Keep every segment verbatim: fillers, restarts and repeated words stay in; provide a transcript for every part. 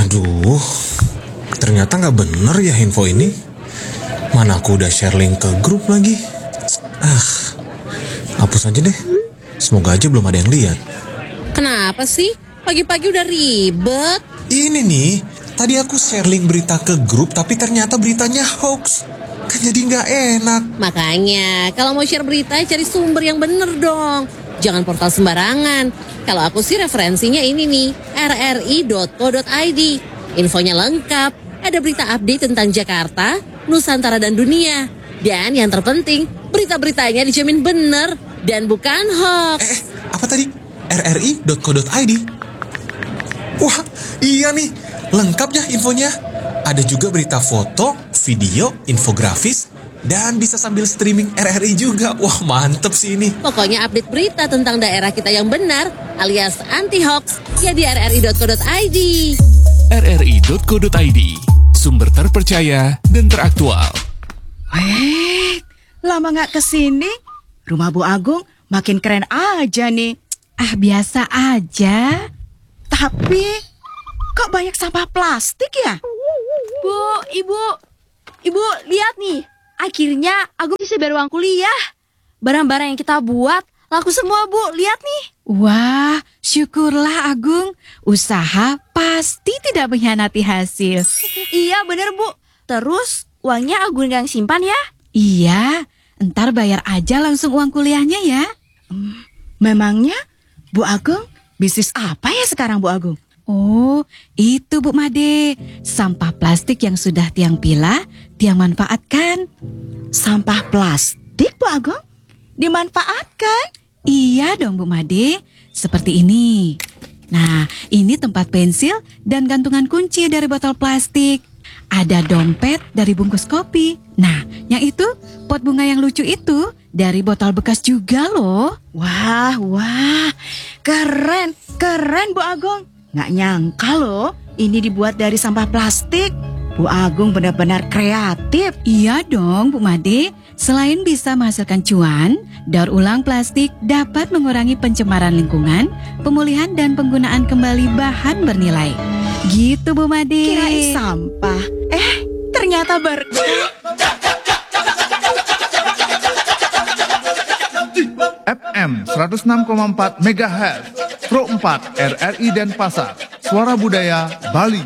Duh, ternyata nggak bener ya info ini. Mana aku udah share link ke grup lagi. Ah, hapus aja deh. Semoga aja belum ada yang lihat. Kenapa sih? Pagi-pagi udah ribet. Ini nih, tadi aku share link berita ke grup tapi ternyata beritanya hoax. Kan jadi nggak enak. Makanya, kalau mau share berita, cari sumber yang bener dong. Jangan portal sembarangan. Kalau aku sih referensinya ini nih, rri.co.id. Infonya lengkap, ada berita update tentang Jakarta, Nusantara dan dunia. Dan yang terpenting, berita-beritanya dijamin bener dan bukan hoax. Eh, apa tadi? rri.co.id. Wah, iya nih, lengkap ya infonya. Ada juga berita foto, video, infografis, dan bisa sambil streaming R R I juga. Wah, mantep sih ini. Pokoknya update berita tentang daerah kita yang benar alias anti hoax ya di rri.co.id. rri.co.id, sumber terpercaya dan teraktual. Eh, lama nggak kesini, rumah Bu Agung makin keren aja nih. Ah, biasa aja. Tapi, kok banyak sampah plastik ya? Bu, ibu, ibu, lihat nih. Akhirnya Agung bisa bayar uang kuliah. Barang-barang yang kita buat laku semua, Bu. Lihat nih. Wah, syukurlah, Agung. Usaha pasti tidak mengkhianati hasil. Iya, bener, Bu. Terus, uangnya Agung yang simpan ya? Iya, ntar bayar aja langsung uang kuliahnya ya. Memangnya Bu Agung bisnis apa ya sekarang, Bu Agung? Oh, itu, Bu Made. Sampah plastik yang sudah Tiang pilah, Tiang manfaatkan. Sampah plastik, Bu Agung? Dimanfaatkan? Iya dong, Bu Made. Seperti ini. Nah, ini tempat pensil dan gantungan kunci dari botol plastik. Ada dompet dari bungkus kopi. Nah, yang itu, pot bunga yang lucu itu dari botol bekas juga loh. Wah, wah. Keren, keren, Bu Agung. Nggak nyangka loh, ini dibuat dari sampah plastik. Bu Agung benar-benar kreatif. Iya dong, Bu Made. Selain bisa menghasilkan cuan, daur ulang plastik dapat mengurangi pencemaran lingkungan, pemulihan dan penggunaan kembali bahan bernilai. Gitu, Bu Made. Kirain sampah. Eh, ternyata berkah. F M seratus enam koma empat megahertz, Pro empat R R I Denpasar, Suara Budaya Bali.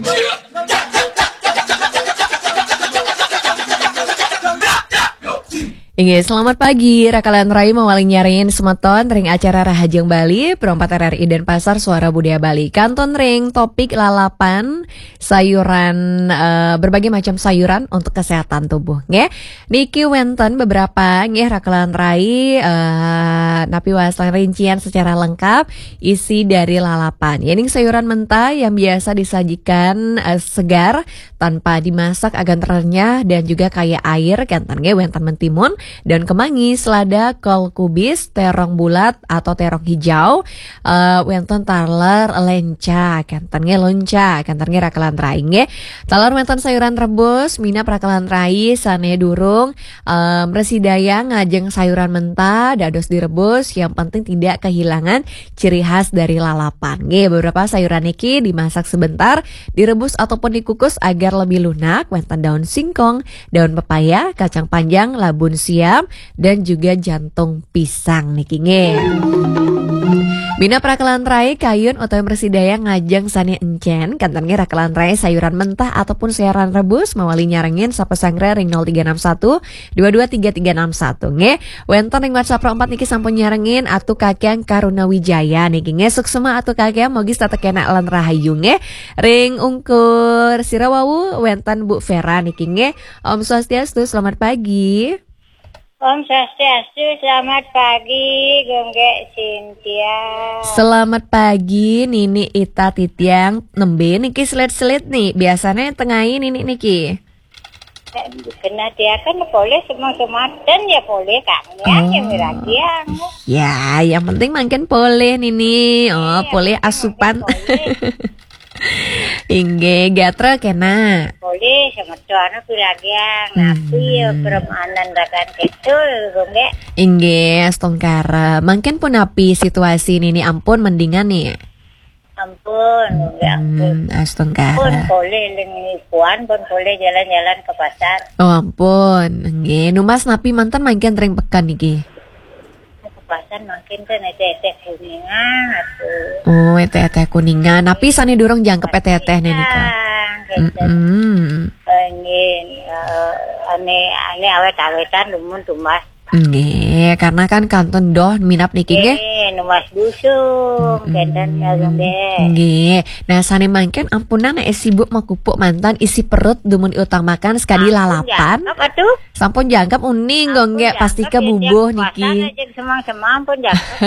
Inggih, selamat pagi. Rakalan rai mawali nyarengin semeton ring acara Rahajeng Bali, Pro empat R R I Denpasar, Suara Budaya Bali. Kantun ring topik lalapan, sayuran, eh, berbagai macam sayuran untuk kesehatan tubuh, nggih. Niki wenten beberapa, nggih, rakalan rai, eh, napi wastané rincian secara lengkap isi dari lalapan. Yéning sayuran mentah yang biasa disajikan, eh, segar tanpa dimasak agan renyah dan juga kaya air, kénten nggih wénten mentimun, daun kemangi, selada, kol kubis, terong bulat atau terong hijau, eh, wénten taler lénca, kénten nggih lénca, kénten nggih rakalan rai nggih. Taler wénten sayuran rebus, minab rakalan rai sané durung, eh, mresidaya ngajeng sayuran mentah, dados direbus, yang penting tidak kehilangan ciri khas dari lalapan. Nggih, beberapa sayuran niki dimasak sebentar, direbus ataupun dikukus agar lebih lunak, wénten daun singkong, daun pepaya, kacang panjang, labun siam, dan juga jantung pisang niki nggih. Minab rakalan rai kayun utawi mresidaya ngajeng sané encén, kénten nggih rakalan rai sayuran mentah ataupun sayuran rebus mawali nyarengin sapesangré ring nol tiga enam satu dua dua tiga tiga enam satu nggih. Wénten ring WhatsApp Pro empat niki sampun nyarengin Atu Kakyang Karuna Wijaya niki nggih. Suksma Atu Kakyang, mugi tetep kénak lan rahayu nggih. Ring ungkur sira wau wénten Bu Vera niki nggih. Om Swastiastu, selamat pagi. Om Swastiastu, selamat pagi, Gung Gék Cynthia. Selamat pagi, Nini Ita Titiang. Nembé niki selit-selit nih. Biasanya tengahi Nini niki. Kena dia kan boleh semua sematen ya boleh kak. Ya, ya miragiang. Ya, yang penting mangkin boleh Nini. Oh, boleh asupan. Inggih, gatra kena. Boleh semeton miragiang. Napi ya permanen rakan ketul, Gung Gék. Inggih, astungkara. Mangkin punapi situasi Nini ampun mendingan nih. Ampun, ya ampun. Hmm, astungkara. Pun boleh ling ibuan, pun boleh jalan-jalan ke pasar. Oh, ampun. Nggih, numbas napi manten mangkin ring peken niki? Ke pasar mangkin ten eteh-eteh Kuningan atuh. Oh, eteh-eteh Kuningan. Napi sane durung jangkep eteh-eteh nika? Kuningan, gitu. Mm-mm. Eh, nggih, eh, ane, ane awet-awetan dumun tumbas. Nggih, karena kan kantun doh minab niki nggih. Nggih, numbas dusung, kenten ya, nggih. Nggih. Nah, sane mangkin ampunang nek sibuk makupuk manten isi perut dumun utamakan sekadi lalapan. Ampun, jangkep atuh. Sampun jangkep uning kok nggih, pasti ke bubuh niki. Puasa aja semang-semang pun jangkep.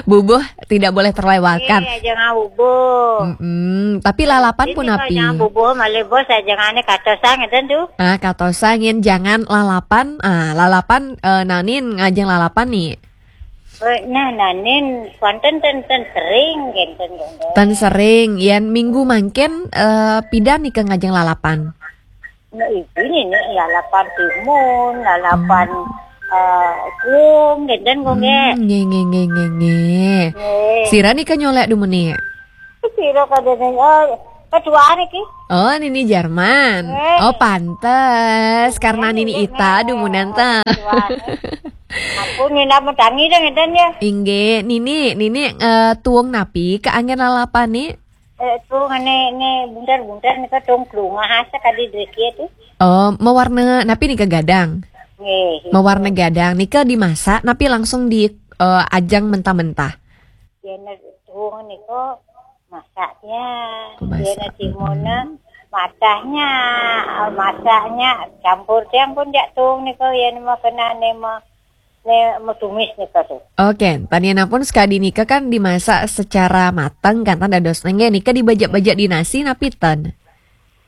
Bubuh tidak boleh terlewatkan. Iya, jangan bubuh. Mm-mm. Tapi lalapan pun api. Jangan bubuh, malih bos aja ngane katosan ngeten tuh. Ah, katosan yen jangan lalapan. Ah, lalapan, eh, nanin ngajeng lalapan nih. Eh, nah, nanin, wonten ten, ten sering, kenten, kenten. Ten sering, yen minggu mangkin, eh, pidan nika ngajeng lalapan? Nah, ini nih, lalapan timun, lalapan, eh, kuung, kenten, kok, nggih. Hmm, nggih, nggih, nggih, nggih, nggih. Nggih. Sira nika nyolek dumun nih? Sira kada nih, oh, ketua niki. Oh, nini Jarman. Eh. Oh, pantes. Karena nini ita dumunan ta. Aku nina metangi deh ngeten ya. Inggih, nini, nini, eh, tuung napi ke anggen lalapan ni? Eh, tuung ne, ne buntar-buntar nika tuung klungah asa kadi dreki tu. Oh, mawarna napi nika gadang? Nggih. Mawarna gadang. Nika dimasak napi langsung di, eh, ajang mentah-mentah? Yen tuung nika masaknya, oh, yen masak. Timunnya matahnya, masaknya campur tiang pun jak tuung nika yen mau kena ne mau, ne mau tumis nika tuh. Oke, tanianapun sekadi nika kan dimasak secara mateng kan tan dados nengge nika dibajak-bajak di nasi napi ten?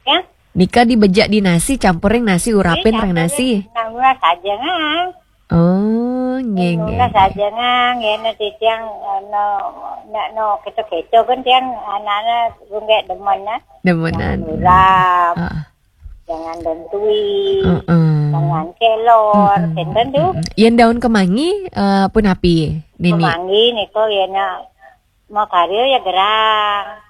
Ya? Nika dibajak di nasi, campuring nasi, urapin ring nasi. Nanggulah saja ngang. Oh, nggih, nggih. Nanggulah saja ngang, ya, nanti tiang, eh, no, no, no, keco-keco kan tiang anak-anak runggek demen, ya. Demenan. Jangan urap, ah, jangan dentui, heeh, jangan kelor, mm-mm, kenten tuh. Mm-mm. Yen daun kemangi, eh, pun api, nini? Kemangi niko, ya, nak. Makarya ya gerang.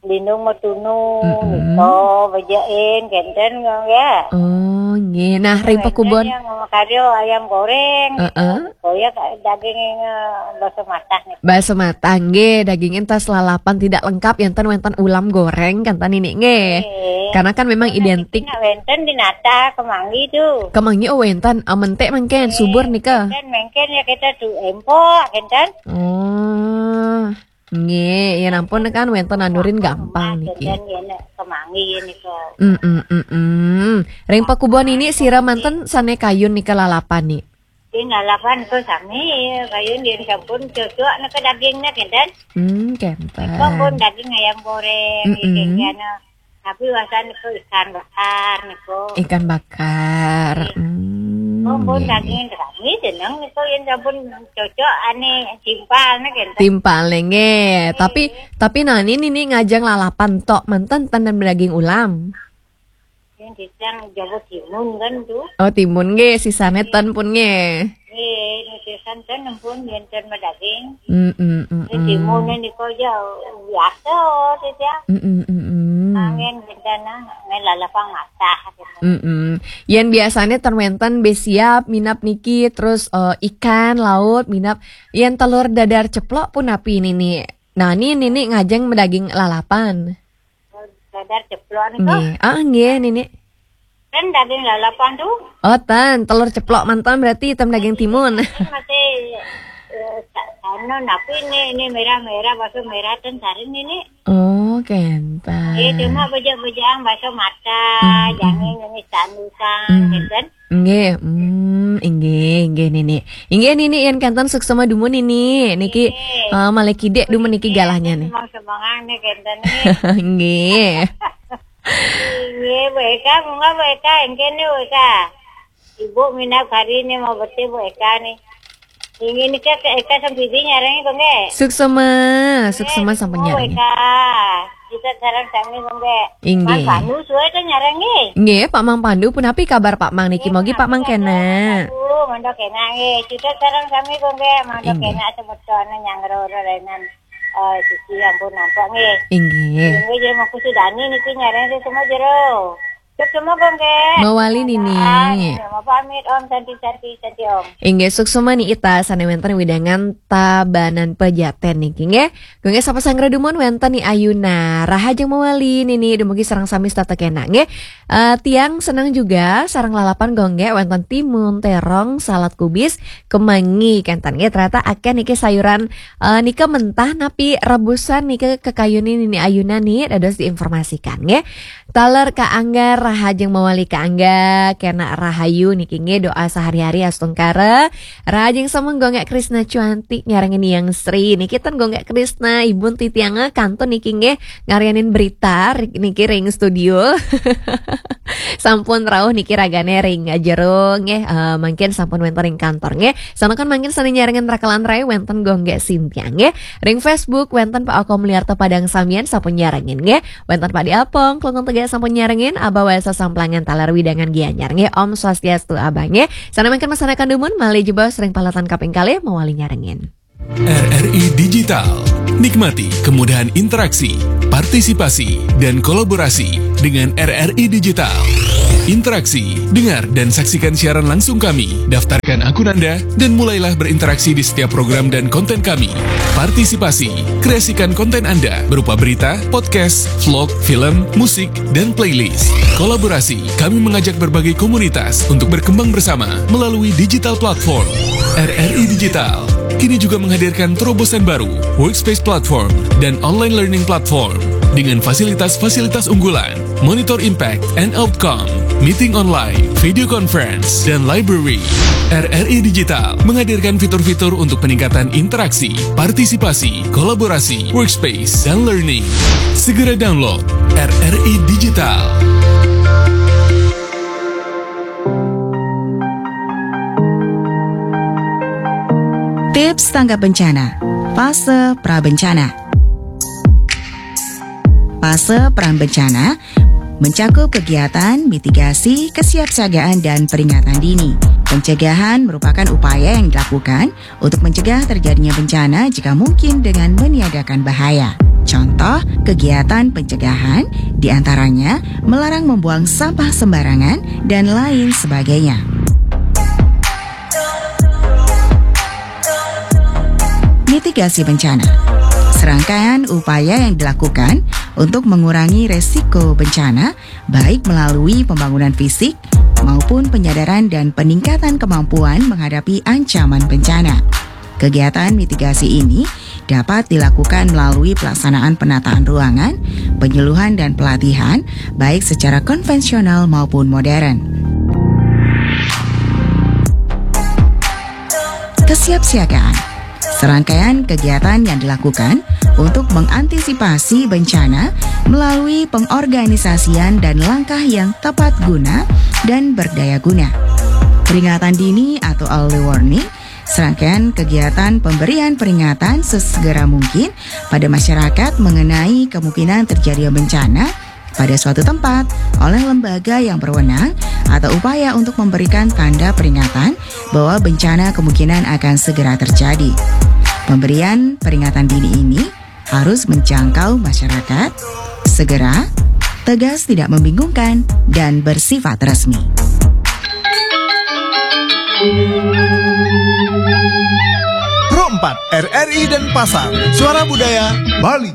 Lindung matunu, mm-mm, niko, bejain, kenten, nggih. Oh, nggih. Nah, ring pakubon. Yang makarya ayam goreng, heeh, niko, ya, daging, eh, baso matah, niko. Baso matah, nggih. Daging entas lalapan tidak lengkap, enten wenten ulam goreng, kan, tan nini, nggih. Nggih. Karena kan memang identik. Nah, wenten di nata, kemangi tuh. Kemangi, oh, wenten. Ah, mentek mengken, nggih, subur, nika. Mengken, mengken, ya, kita tuh empok, kenten. Oh. Nggih, yen ampun kan wenten nandurin gampang niki. Enten yen kemangi nika. Mm, mm, mm, mm. Ring pakubon nini sira manten sane kayun nika lalapan ni? Ing lalapan nika sami, kayun yen sampun cocok nika dagingnya kenten. Hmm, kenten. Nika pun daging ayam goreng, mm, mm, iki kene. Tapi wasan niku ikan bakar niku. Ikan bakar. Nggih. Hmm, oh, pun nggih, daging nggih. Kami jeneng niku yen sampun cocok ane timpal niku enten. Timpal nggih. Nggih. Tapi, tapi nani nini ngajeng lalapan tok manten ten daging ulam. Yang dicang Jawa Timun kan tuh. Oh, timun nggih, sisane ten pun nggih. Nggih, niki santen ampun yen ten madaging. Mm, mm, mm, mm. Timun niku ya biasa saja. Mm, mm, mm, mm. Angin bentana, ngelalapan matah gitu. Mm, mm. Yen biasane ten wenten besiap minap niki, terus, eh, ikan laut minap. Yen telur dadar ceplok pun api nini? Nah, ni nini ngajeng madaging lalapan. Dadar ceplok niku. Nggih. Ah, nggih, nini. Kan daging lalapan tuh. Oh, ten, telur ceplok mantan berarti hitam daging timun. Kan masih, eh, sa-, anu, napi ini, ini merah-merah, bakso merah ten saring ini. Oh, kenten. Iya, cuma bejak-bejak bakso mata, hmm, jangan ini sandukan, hmm, gitu kan. Nggih, hmm, inggih, inggih, nini. Inggih, nini, yen kenten suksema dumun, nini. Niki, nggih, eh, malih kidik dumun niki, nggih, galahnya, nih. Semang-semangan nih, kenten nih. Nggih. Nggih, Bu Eka, monggo Bu Eka, engkene Bu Eka. Ibu minab hari ini mau bete Bu Eka nih. Inggih nika Eka sampidi nyarengi kok nggih. Suksema, nggih, suksema sampun nyarengi. Eka. Kita sareng sami kok nggih. Inggih. Mas Pandu suwe to nyarengi. Nggih, Pak Mang Pandu punapi kabar Pak Mang niki? Nggih, mogi Pak Mang kena. Aduh, mandok kena nggih. Kita sareng sami kok nggih, mandok kena semeton nyangro renan. Eh, Cici, ampun nampak nggih. Inggih. Inggih, jadi mau kusudani niki nyareng semua jero. Cek semua kok nggih. Mawali nini. Ah, nggih, mau pamit Om, Santi, Santi, Santi Om. Inggih, suksma ni Ita sane wenten wewidangan Tabanan Pejaten niki nggih. Nggih, sapa sanggra dumun wenten ni Ayuna. Rahajeng mawali nini dumugi sareng sami setata kena nggih. Eh, tiang senang juga sareng lalapan gongge wenten timun, terong, salad kubis, kemangi kenten nggih. Ternyata akeh niki sayuran eh, nika mentah napi rebusan nika kekayunin nini Ayuna ni dados diinformasikan nggih. Taler Ka Angga, rahajeng mawali Ka Angga, kena rahayu niki nggih, doa sehari-hari astungkara. Rahajeng semeng gongge Krisna Cuanti nyarengin Yang Sri niki ten gongge Krisna Ibun titiange kantun niki nggih, ngarianin berita ri- niki ring studio. Sampun rauh niki ragane ring jero nggih, eh, mangkin sampun wenten ring kantor nggih. Sanakan mangkin sane nyarengin rakelan rai wenten gongge Sintia nggih. Ring Facebook wenten Pak Oko Mulyarta Padang samian sampun nyarengin nggih. Wenten Pak Diapong, Klungkung Tegak sampun nyarengin, Abah Wesa Samplangan taler wewidangan Gianyar nggih. Om Swastiastu Abah nggih. Sane mangkin masanakan dumun malih jebos ring paletan kaping kalih mawali nyarengin. R R I Digital. Nikmati kemudahan interaksi, partisipasi, dan kolaborasi dengan R R I Digital. Interaksi, dengar dan saksikan siaran langsung kami. Daftarkan akun Anda dan mulailah berinteraksi di setiap program dan konten kami. Partisipasi, kreasikan konten Anda berupa berita, podcast, vlog, film, musik, dan playlist. Kolaborasi, kami mengajak berbagai komunitas untuk berkembang bersama melalui digital platform. R R I Digital kini juga menghadirkan terobosan baru, Workspace Platform dan Online Learning Platform dengan fasilitas-fasilitas unggulan, monitor impact and outcome, meeting online, video conference, dan library. R R I Digital menghadirkan fitur-fitur untuk peningkatan interaksi, partisipasi, kolaborasi, workspace, dan learning. Segera download R R I Digital. Tips tanggap bencana, fase pra bencana. Fase pra bencana mencakup kegiatan mitigasi, kesiapsiagaan, dan peringatan dini. Pencegahan merupakan upaya yang dilakukan untuk mencegah terjadinya bencana jika mungkin dengan meniadakan bahaya. Contoh kegiatan pencegahan diantaranya melarang membuang sampah sembarangan dan lain sebagainya. Mitigasi bencana. Serangkaian upaya yang dilakukan untuk mengurangi resiko bencana, baik melalui pembangunan fisik maupun penyadaran dan peningkatan kemampuan menghadapi ancaman bencana. Kegiatan mitigasi ini dapat dilakukan melalui pelaksanaan penataan ruangan, penyuluhan dan pelatihan, baik secara konvensional maupun modern. Kesiapsiagaan. Serangkaian kegiatan yang dilakukan untuk mengantisipasi bencana melalui pengorganisasian dan langkah yang tepat guna dan berdaya guna. Peringatan dini atau early warning, serangkaian kegiatan pemberian peringatan sesegera mungkin pada masyarakat mengenai kemungkinan terjadi bencana pada suatu tempat oleh lembaga yang berwenang atau upaya untuk memberikan tanda peringatan bahwa bencana kemungkinan akan segera terjadi. Pemberian peringatan dini ini harus menjangkau masyarakat, segera, tegas, tidak membingungkan, dan bersifat resmi. Pro empat, R R I dan Pasar, Suara Budaya Bali.